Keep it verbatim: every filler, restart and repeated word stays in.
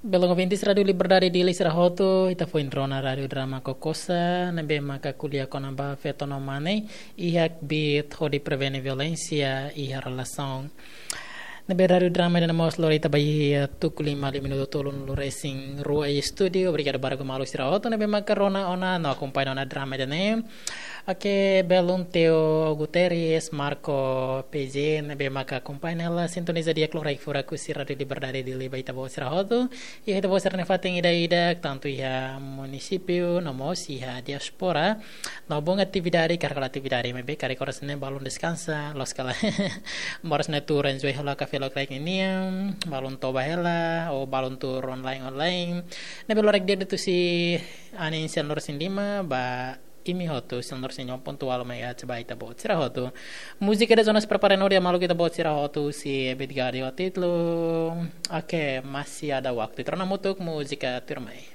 Belun ouvintes Rádiu Liberdade Dili sira hotu, ita foin rona Rádiu Drama Kokosa, ne'ebé maka ko'alia kona-ba feto no mane, iha kbiit hodi prevene violénsia iha relasaun. Ne'ebé Rádiu Drama ida-ne'e mós lori ita ba iha tuku lima liu minutu tolunulu resin rua iha estúdiu. Obrigadu barak ba maluk sira hotu ne'ebé maka rona ona no akompaña ona drama ida-ne'e. Oke, belun Teo Guterres, Marco P J, ne'ebé maka akompaña hela, sintoniza di'ak loraik furak husi Rádiu Liberdade Dili ba ita-boot sira hotu. Iha ita-boot sira-nia fatin ida-idak, tantu iha munisípiu, no mós iha diáspora. No bom atividade, karik halo atividade, maibé karik oras ne'e balun deskansa, loos ka lae. Moras ne'e tuur enjoy hela kafé loraik ninian, balun toba hela, ou balun tuur online online. Ne'ebé loraik di'ak de'it husi anin sianulu-resin-lima, ba imi hotu, sianulu-resin-lima pontu ualu megahertz ba ita-boot sira hotu. Múzika ida zonas prepara no dia maluk ita-boot sira hotu, husi Ebit Gade ho títulu. Oke, masih ada waktu. Ita rona hamutuk múzika tuirmai.